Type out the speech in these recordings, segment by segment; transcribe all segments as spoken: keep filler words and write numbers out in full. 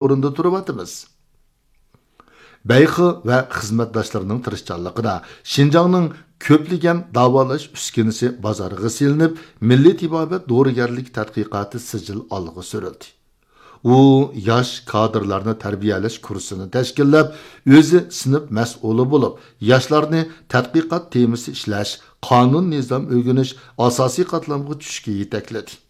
ئورۇندا تۇرۇۋاتىمىز. بەيخې ۋە خىزمەتداشلىرىنىڭ تىرىشچانلىقىدا شىنجاڭنىڭ كۆپلىگەن داۋالاش ئۈسكۈنىسى بازارغا سېلىنىپ، مىللىي تېبابەت دورىگەرلىك تەتقىقاتى سىجىل ئالغا سۈرۈلدى. ئۇ ياش كادىرلارنى تەربىيەلەش كۇرسىنى تەشكىللەپ، ئۆزى سىنىپ مەسئۇلى بولۇپ، ياشلارنى تەتقىقات تېمىسى ئىشلەش، قانۇن نىزام ئۆگىنىش، ئاساسىي قاتلامغا چۈشۈشكە يېتەكلىدى.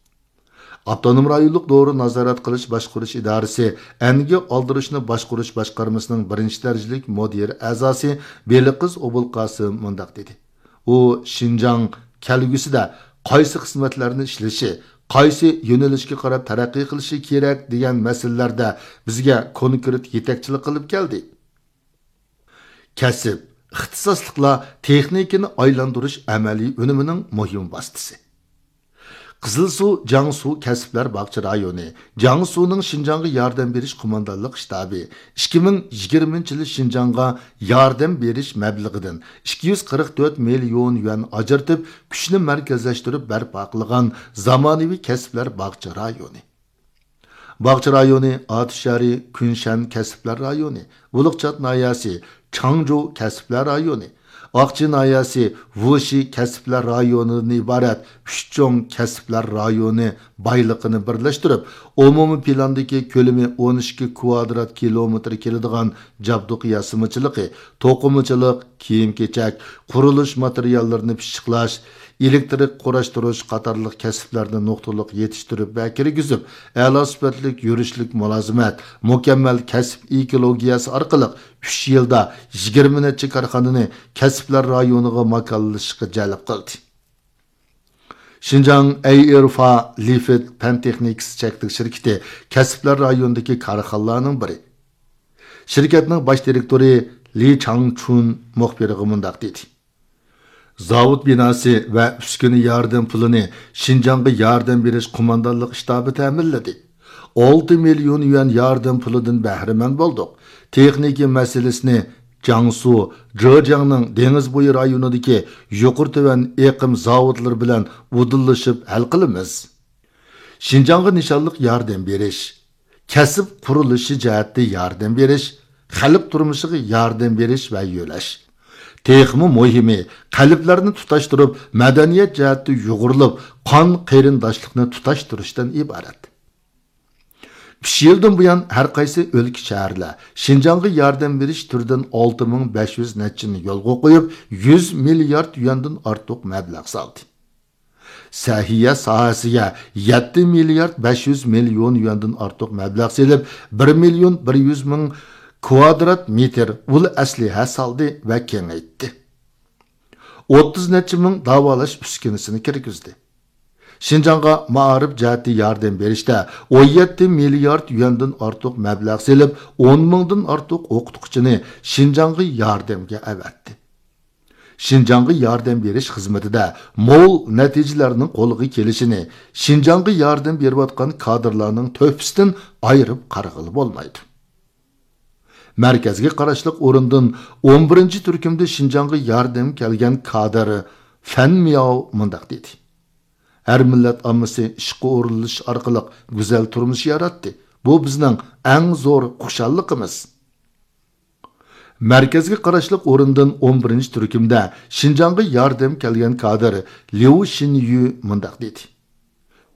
ئاپتونوم رايونلۇق دورا نازارەت قىلىش باشقۇرۇش ئىدارىسى ئەنگە ئالدۇرۇشنى باشقۇرۇش باشقارمىسىنىڭ بىرىنچى دەرىجىلىك مۇدىرى ئەزاسى بېلىقىز ئوبۇلقاسىم مۇنداق دېدى: ئۇ شىنجاڭ كەلگۈسىدە قايسى خىزمەتلەرنى ئىشلىشى، قايسى يۆنىلىشكە قاراپ تەرەققىي قىلىشى كېرەك دېگەن مەسىلىلەردە بىزگە كونكرېت يېتەكچىلىك قىلىپ كەلدى. كەسىپ، ئىختىساسلىقلار تېخنىكىنى ئايلاندۇرۇش ئەمەلىي ئۈنۈمىنىڭ مۇھىم ۋاسىتىسى. قىزىلسۇ جياڭسۇ كەسىپلەر باغچە رايونى، جياڭسۇنىڭ شىنجاڭغا ياردەم بېرىش قوماندانلىق شتابى ئىككى مىڭ يىگىرمىنچى يىلى شىنجاڭغا ياردەم بېرىش مەبلىغىدىن ئىككى يۈز قىرىق تۆت مىليون يۈەن ئاجرىتىپ، كۈچنى مەركەزلەشتۈرۈپ بەرپا قىلغان زامانىۋى كەسىپلەر باغچە رايونى. باغچە رايونى، ئاتۇشارى، كۈنشەن كەسىپلەر رايونى، ئۇلۇغچات ناھىيەسى، چاڭجۇ كەسىپلەر رايونى، ئاقچى ناھىيەسى، ۋۇشى كەسىپلەر رايونىدىن ئىبارەت ئۈچ چوڭ كەسىپلەر رايونى بايلىقىنى بىرلەشتۈرۈپ، ئومۇمىي پىلاندىكى كۆلىمى ئون ئىككى كۋادرات كىلومېتىر كېلىدىغان جابدۇق ياسىمىچىلىقى، توقۇمىچىلىق، كىيىم-كېچەك، قۇرۇلۇش ماتېرىياللىرىنى پىششىقلاش، ئېلېكترىك قۇراشتۇرۇش قاتارلىق كەسىپلەرنى نۇقتىلىق يېتىشتۈرۈپ ۋە كىرگۈزۈپ، ئەلا سۈپەتلىك يۈرۈشلۈك مۇلازىمەت، مۇكەممەل كەسىپ ئېكولوگىيەسى ئارقىلىق ئۈچ يىلدا يىگىرمە نەچچە كارخانىنى كەسىپلەر رايونىغا ماكانلىشىشقا جەلپ قىلدى. شىنجاڭ ئەيئېرفا لىفت پەن تېخنىكىسى چەكلىك شىركىتى كەسىپلەر رايونىدىكى كارخانىلارنىڭ بىرى. شىركەتنىڭ باش دىرېكتورى لى چاڭچۈن مۇخبىرغا مۇنداق دېدى: زاۋۇت بىناسى ۋە ئۈسكۈنە ياردەم پۇلىنى شىنجاڭغا ياردەم بېرىش قوماندانلىق شتابى تەمىنلىدى. ئالتە مىليون يۈەن ياردەم پۇلىدىن بەھرىمەن بولدۇق. تېخنىكا مەسىلىسىنى جياڭسۇ، جېجياڭنىڭ دېڭىز بويى رايونىدىكى يۇقىرى تۆۋەن ئېقىم زاۋۇتلىرى بىلەن ئۇدۇللىشىپ ھەل قىلىمىز. شىنجاڭغا نىشانلىق ياردەم بېرىش، كەسىپ قۇرۇلۇشى جەھەتتە ياردەم بېرىش، خەلق تۇرمۇشىغا ياردەم بېرىش ۋە يۆلەش. تېخىمۇ مۇھىمى، قەلبلەرنى تۇتاشتۇرۇپ، مەدەنىيەت جەھەتتە يۇغۇرۇلۇپ، قان قېرىنداشلىقنى تۇتاشتۇرۇشتىن ئىبارەت. ئۈچ يىلدىن بۇيان ھەر قايسى ئۆلكە، شەھەرلەر شىنجاڭغا ياردەم بېرىش تۈرىدىن ئالتە مىڭ بەش يۈز نەچچىنى يولغا قويۇپ، يۈز مىليارد يۈەندىن ئارتۇق مەبلەغ سالدى. سەھىيە ساھەسىگە يەتتە مىليارد بەش يۈز مىليون يۈەندىن ئارتۇق مەبلەغ سېلىپ، بىر مىليون بىر يۈز مىڭ كۋادرات مېتىر ئۇل ئەسلىھە سالدى ۋە كېڭەيتتى. ئوتتۇز نەچچە مىڭ داۋالاش ئۈسكۈنىسىنى كىرگۈزدى. شىنجاڭغا مائارىپ جەھەتتە ياردەم بېرىشتە ئون يەتتە مىليارد يۈەندىن ئارتۇق مەبلەغ سېلىپ، ئون مىڭدىن ئارتۇق ئوقۇتقۇچىنى شىنجاڭغا ياردەمگە ئەۋەتتى. شىنجاڭغا ياردەم بېرىش خىزمىتىدە مول نەتىجىلەرنىڭ قولغا كېلىشىنى شىنجاڭغا ياردەم بېرىۋاتقان كادىرلارنىڭ تۆھپىسىدىن ئايرىپ قارىغىلى بولمايدۇ. مەركەزگە قاراشلىق ئورۇندىن ئون بىرىنچى تۈركۈمدە شىنجاڭغا ياردەم كەلگەن كادىر فەن مياۋ مۇنداق دېدى: ھەر مىللەت ئاممىسى ئىشقا ئورۇنلىشىش ئارقىلىق گۈزەل تۇرمۇش ياراتتى. بۇ بىزنىڭ ئەڭ زور خۇشاللىقىمىز. مەركەزگە قاراشلىق ئورۇندىن ئون بىرىنچى تۈركۈمدە شىنجاڭغا ياردەم كەلگەن كادىر ليۇ شىنيۈ مۇنداق دېدى: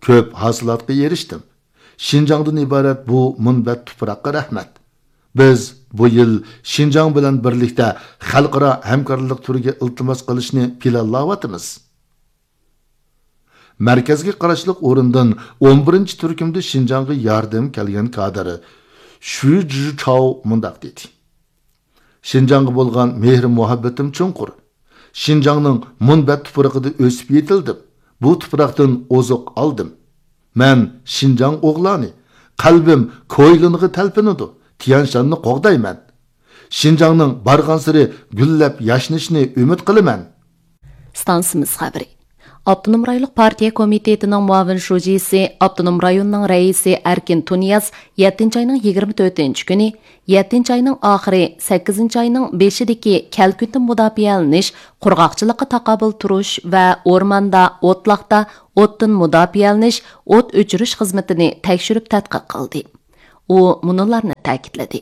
كۆپ ھاسىلاتقا ئېرىشتىم. شىنجاڭدىن ئىبارەت بۇ مۇنبەت تۇپراققا رەھمەت. بىز بۇ يىل شىنجاڭ بىلەن بىرلىكتە خەلقئارا ھەمكارلىق تۈرىگە ئىلتىماس قىلىشنى پىلانلاۋاتىمىز. مەركەزگە قاراشلىق ئورۇندىن ئون بىرىنچى تۈركۈمدە شىنجاڭغا ياردەم كەلگەن كادىر شۈ جىچاۋ مۇنداق دېدى: شىنجاڭغا بولغان مېھرى مۇھەببىتىم چوڭقۇر. شىنجاڭنىڭ مۇنبەت تۇپرىقىدا ئۆسۈپ يېتىلدىم. بۇ تۇپراقتىن ئوزۇق ئالدىم. مەن شىنجاڭ ئوغلانى. قەلبىم كويلىنغا تەلپۈنىدۇ. تيەنشاننى قوغدايمەن. شىنجاڭنىڭ بارغانسېرى گۈللەپ ياشنىشىنى ئۈمىد قىلىمەن. ئىستانسىمىز خەۋىرى. ئاپتونوم رايونلۇق پارتىيە كومىتېتىنىڭ مۇئاۋىن شۇجىسى، ئاپتونوم رايوننىڭ رەئىسى ئەركىن تۇنىياز يەتتىنچى ئاينىڭ يىگىرمە تۆتىنچى كۈنى، يەتتىنچى ئاينىڭ ئاخىرى، سەككىزىنچى ئاينىڭ بېشىدىكى كەلكۈندىن مۇداپىئەلىنىش، قۇرغاقچىلىققا تاقابىل تۇرۇش ۋە ئورماندا، ئوتلاقتا ئوتتىن مۇداپىئەلىنىش، ئوت ئۆچۈرۈش خىزمىتىنى تەكشۈرۈپ تەتقىق قىلدى. ئۇ مۇنۇلارنى تەكىتلىدى: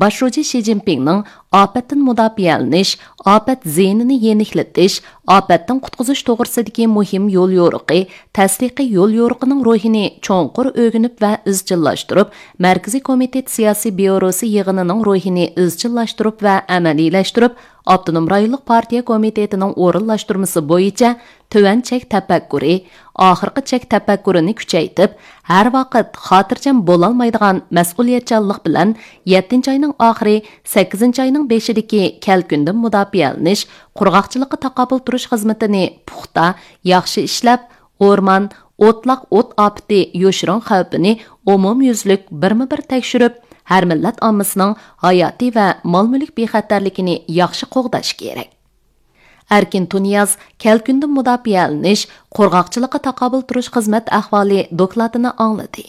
باش شۇجى شى جىنپىڭنىڭ ئاپەتتىن مۇداپىئەلىنىش، ئاپەت زىيىنىنى يېنىكلىتىش، ئاپەتتىن قۇتقۇزۇش توغرىسىدىكى مۇھىم يوليورۇقى، تەستىقىي يوليورۇقىنىڭ روھىنى چوڭقۇر ئۆگىنىپ ۋە ئىزچىللاشتۇرۇپ، مەركىزىي كومىتېت سىياسىي بيۇروسى يىغىنىنىڭ روھىنى ئىزچىللاشتۇرۇپ ۋە ئەمەلىيلەشتۈرۈپ، ئاپتونوم رايونلۇق پارتىيە كومىتېتىنىڭ ئورۇنلاشتۇرمىسى بويىچە تۆۋەن چەك تەپەككۇرى، ئاخىرقى چەك تەپەككۇرىنى كۈچەيتىپ، ھەر ۋاقىت خاتىرجەم بولالمايدىغان مەسئۇلىيەتچانلىق بىلەن يەتتىنچى ئاينىڭ ئاخىرى، سەككىزىنچى ئاينىڭ بېشىدىكى كەلكۈندىن مۇداپىئەلىنىش، قۇرغاقچىلىققا تاقابىل تۇرۇش خىزمىتىنى پۇختا، ياخشى ئىشلەپ، ئورمان، ئوتلاق ئوت ئاپىتى يوشۇرۇن خەۋپىنى ئومۇميۈزلۈك بىرمۇ بىر تەكشۈرۈپ، ھەر مىللەت ئاممىسىنىڭ ھاياتىي ۋە مال مۈلۈك بىخەتەرلىكىنى ياخشى قوغداش كېرەك. ئەركىن تۇنىياز كەلكۈندىن مۇداپىئەلىنىش، قۇرغاقچىلىققا تاقابىل تۇرۇش خىزمەت ئەھۋالى دوكلاتىنى ئاڭلىدى.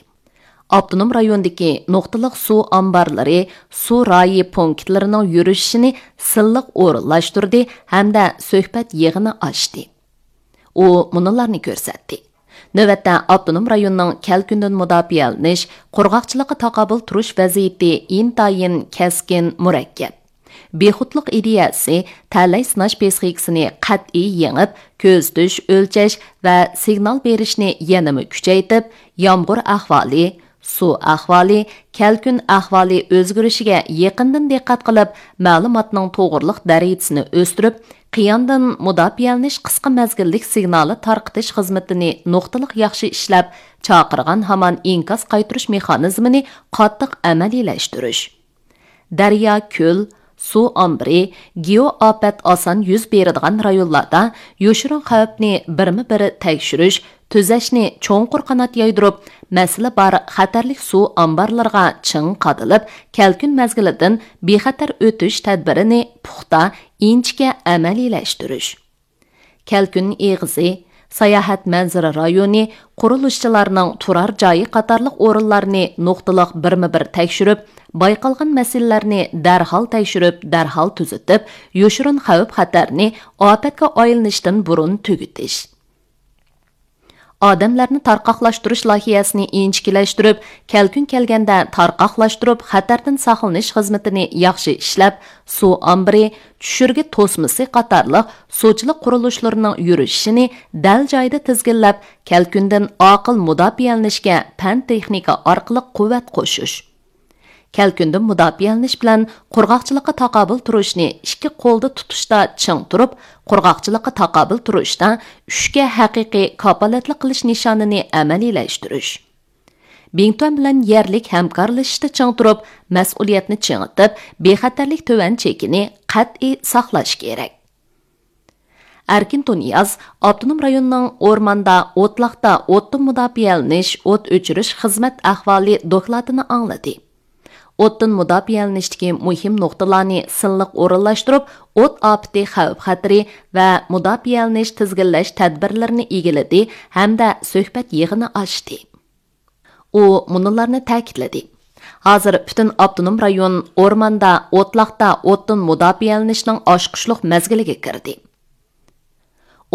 ئاپتونوم رايوندىكى نۇقتىلىق سۇ ئامبارلىرى، سۇ رايى پونكىتلىرىنىڭ يۈرۈشۈشىنى سىنلىق ئورۇنلاشتۇردى ھەمدە سۆھبەت يىغىنى ئاچتى. ئۇ مۇنۇلارنى كۆرسەتتى: نۆۋەتتە ئاپتونوم رايوننىڭ كەلكۈندىن مۇداپىئەلىنىش، قۇرغاقچىلىققا تاقابىل تۇرۇش ۋەزىيىتى ئىنتايىن كەسكىن، مۇرەككەپ. بىخۇدلۇق ئىدىيەسى تەلەي سىناش پسىخىكىسىنى قەتئىي يېڭىپ، كۆزىتىش، ئۆلچەش ۋە سىگنال بېرىشنى يەنىمۇ كۈچەيتىپ، يامغۇر ئەھۋالى، سۇ ئەھۋالى، كەلكۈن ئەھۋالى ئۆزگىرىشىگە يېقىندىن دىققەت قىلىپ، مەلۇماتنىڭ توغرىلىق دەرىجىسىنى ئۆستۈرۈپ، قىياندىن مۇداپىئەلىنىش قىسقا مەزگىللىك سىگنالى تارقىتىش خىزمىتىنى نۇقتىلىق ياخشى ئىشلەپ، چاقىرغان ھامان ئىنكاس قايتۇرۇش مېخانىزمىنى قاتتىق ئەمەلىيلەشتۈرۈش. دەريا، كۆل، سۇ ئامبىرى، گېئو ئاپەت ئاسان يۈز بېرىدىغان رايونلاردا يوشۇرۇن خەۋپنى بىرمۇ بىر تەكشۈرۈش، تۈزەشنى چوڭقۇر قانات يايدۇرۇپ، مەسىلە بار خەتەرلىك سۇ ئامبارلىرىغا چىڭ قادىلىپ، كەلكۈن مەزگىلىدىن بىخەتەر ئۆتۈش تەدبىرىنى پۇختا، ئىنچىكە ئەمەلىيلەشتۈرۈش. كەلكۈن ئېغىزى، ساياھەت مەنزىرە رايونى، قۇرۇلۇشچىلارنىڭ تۇرار جايى قاتارلىق ئورۇنلارنى نۇقتىلىق بىرمۇ بىر تەكشۈرۈپ، بايقالغان مەسىلىلەرنى دەرھال تەكشۈرۈپ، دەرھال تۈزىتىپ، يوشۇرۇن خەۋپ خەتەرنى ئاپەتكە ئايلىنىشتىن بۇرۇن تۈگىتىش. ئادەملەرنى تارقاقلاشتۇرۇش لايىھەسىنى ئىنچىكىلەشتۈرۈپ، كەلكۈن كەلگەندە تارقاقلاشتۇرۇپ، خەتەردىن ساقلىنىش خىزمىتىنى ياخشى ئىشلەپ، سۇ ئامبىرى، چۈشۈرگە توسمىسى قاتارلىق سۇچىلىق قۇرۇلۇشلىرىنىڭ يۈرۈشۈشىنى دەل جايىدا تىزگىنلەپ، كەلكۈندىن ئاقىل مۇداپىئەلىنىشكە پەن تېخنىكا ئارقىلىق قۇۋۋەت قوشۇش. كەلكۈندىن مۇداپىئەلىنىش بىلەن قۇرغاقچىلىققا تاقابىل تۇرۇشنى ئىككى قولدا تۇتۇشتا چىڭ تۇرۇپ، قۇرغاقچىلىققا تاقابىل تۇرۇشتا ئۈچكە ھەقىقىي كاپالەتلىك قىلىش نىشانىنى ئەمەلىيلەشتۈرۈش. بىڭتۈەن بىلەن يەرلىك ھەمكارلىشىشتا چىڭ تۇرۇپ، مەسئۇلىيەتنى چىڭىتىپ، بىخەتەرلىك تۆۋەن چېكىنى قەتئىي ساقلاش كېرەك. ئەركىن تۇنىياز ئاپتونوم رايوننىڭ ئورماندا، ئوتلاقتا ئوتتىن مۇداپىئەلىنىش، ئوت ئۆچۈرۈش خىزمەت ئەھۋالى دوكلاتىنى ئاڭلىدى. ئوتتىن مۇداپىئەلىنىشتىكى مۇھىم نۇقتىلارنى سىنلىق ئورۇنلاشتۇرۇپ، ئوت ئاپىتى خەۋپ خەتىرى ۋە مۇداپىئەلىنىش تىزگىنلەش تەدبىرلىرىنى ئىگىلىدى ھەمدە سۆھبەت يىغىنى ئاچتى. ئۇ مۇنۇلارنى تەكىتلىدى: ھازىر پۈتۈن ئاپتونوم رايون ئورماندا، ئوتلاقتا ئوتتىن مۇداپىئەلىنىشنىڭ ئاچقۇچلۇق مەزگىلىگە كىردى.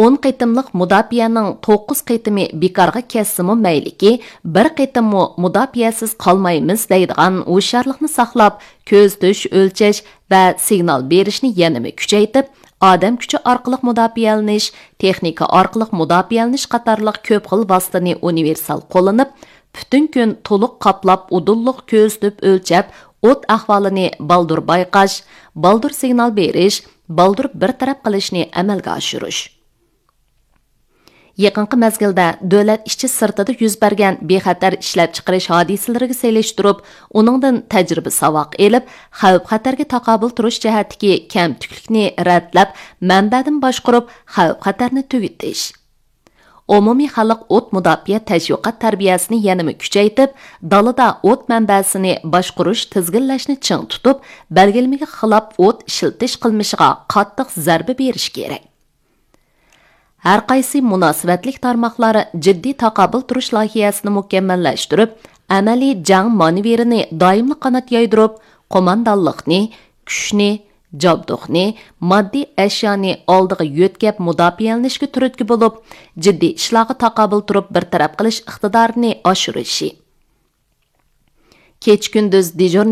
ئون قېتىملىق مۇداپىئەنىڭ توققۇز قېتىمى بىكارغا كەتسىمۇ مەيلىكى، بىر قېتىممۇ مۇداپىئەسىز قالمايمىز دەيدىغان ھوشيارلىقنى ساقلاپ، كۆزىتىش، ئۆلچەش ۋە سىگنال بېرىشنى يەنىمۇ كۈچەيتىپ، ئادەم كۈچى ئارقىلىق مۇداپىئەلىنىش، تېخنىكا ئارقىلىق مۇداپىئەلىنىش قاتارلىق كۆپ خىل ۋاسىتىنى ئۇنىۋېرسال قوللىنىپ، پۈتۈن كۈن تولۇق قاپلاپ، ئۇدۇللۇق كۆزىتىپ ئۆلچەپ، ئوت ئەھۋالىنى بالدۇر بايقاش، بالدۇر سىگنال بېرىش، بالدۇر بىر تەرەپ قىلىشنى ئەمەلگە ئاشۇرۇش. يېقىنقى مەزگىلدە دۆلەت ئىچى سىرتىدا يۈز بەرگەن بىخەتەر ئىشلەپچىقىرىش ھادىسىلىرىگە سېلىشتۇرۇپ، ئۇنىڭدىن تەجرىبە ساۋاق ئېلىپ، خەۋپ خەتەرگە تاقابىل تۇرۇش جەھەتتىكى كەمتۈكلۈكنى رەتلەپ، مەنبەدىن باشقۇرۇپ، خەۋپ خەتەرنى تۈگىتىش. ئومۇمىي خەلق ئوت مۇداپىئە تەشۋىقات تەربىيەسىنى يەنىمۇ كۈچەيتىپ، دالىدا ئوت مەنبەسىنى باشقۇرۇش، تىزگىنلەشنى چىڭ تۇتۇپ، بەلگىلىمىگە خىلاپ ئوت ئىشلىتىش قىلمىشىغا قاتتىق زەربە بېرىش كېرەك. ھەرقايسى مۇناسىۋەتلىك تارماقلار جىددىي تاقابىل تۇرۇش لايىھەسىنى مۇكەممەللەشتۈرۈپ، ئەمەلىي جەڭ مانېۋىرىنى دائىملىق قانات يايدۇرۇپ، قوماندانلىقنى، كۈچنى، جابدۇقنى، ماددىي ئەشيانى ئالدىغا يۆتكەپ مۇداپىئەلىنىشكە تۈرتكە بولۇپ، جىددىي ئىشلارغا تاقابىل تۇرۇپ بىر تەرەپ قىلىش ئىقتىدارىنى ئاشۇرۇشى. كېچە-كۈندۈز دېژۇرنىي